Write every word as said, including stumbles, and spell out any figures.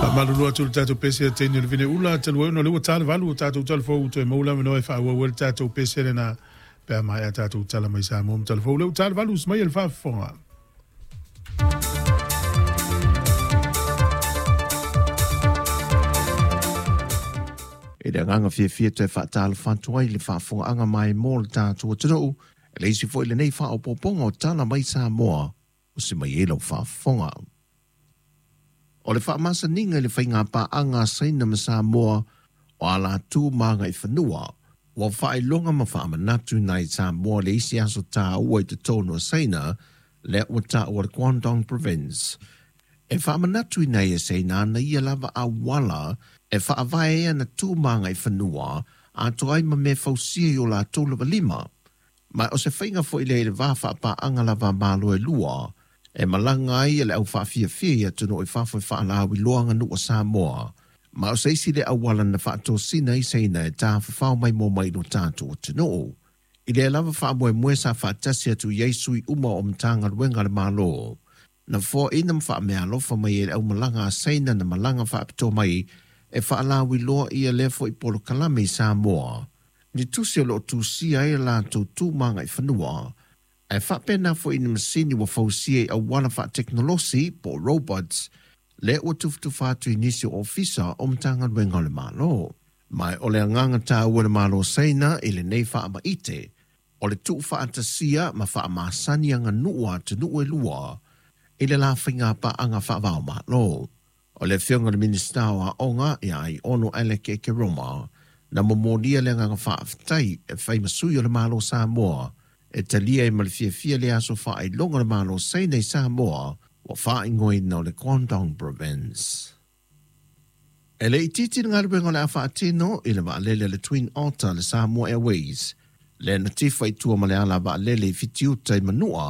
Faamalulu atu le tatou pese teine le vine ula talu ai ona o lea ua ta le valu o tatou talafou toe maua le avanoa e faaauau ai le tatou pese lena pe a maea tatou tala mai Samoa ma talafou lea ua ta le valu usu mai e le faafofoga. I le agaga fiafia toe faatalofa atu ai i le faafofogaaga maemo o le tatou atunuu, e le isi foi lenei faaopoopoga o tala mai Samoa o se mai ai lau faafofoga. O le faamasaniga i le faigapaaga a Saina ma Samoa o ala tu ma agaifanua, ua faailoga ma faamanatu i Samoa le isi aso tāua i totonu o Saina, lea ua taua le Guangdong Province. E faamanatu ina e Saina ana ia lava auala e faavae ai ana tu ma agaifanua atoa ai ma mea fausia i o latou lava lima. Ma o se faiga foi lea i le va faapaaga lava a Malo e lua, e malaga ai le au faafiafia i atunuu i fafo e faalauiloa aganuu a Samoa. Ma o se isi lea auala na faatosina ai Saina e tafafao maimoa mai i lo tatou atunuu. I lea lava faamoemoe sa faatasi atu i ai sui uma o Matagaluega a le Malo. Na foaina ma faameaalofa mai e le aumalaga a Saina na malaga faapitoa mai e faalauiloa ia lea foi polokalame i Samoa. Ni tusi o loo tusia ai latou tu ma agaifanua, ae faapena foi i ni masini ua fausia i auala faatekonolosi po o robots, lea ua tufatufa atu i nisi o ofisa o Matagaluega o le Malo. Ma o le agaga taua le Malo Saina i lenei faamaite, o le tuufaatasia ma faamasani aganuu a atunuu e lua i le la faigapaaga faava-o-Malo. O le afioga i le Minisita o Aoga ia Aiono Alec Ekeroma na momolia le agaga faafetai e fai ma sui o le Malo Samoa e talia ai ma le fiafia le aso faailoga o le Malo Saina i Samoa ua faaigoaina o le Guangdong Province. E le itiiti le galuega o le a faatino i le vaalele a le Twin Otter a le Samoa Airways, lea na tifa i tua ma le ala vaalele i Fitiuta i Manua.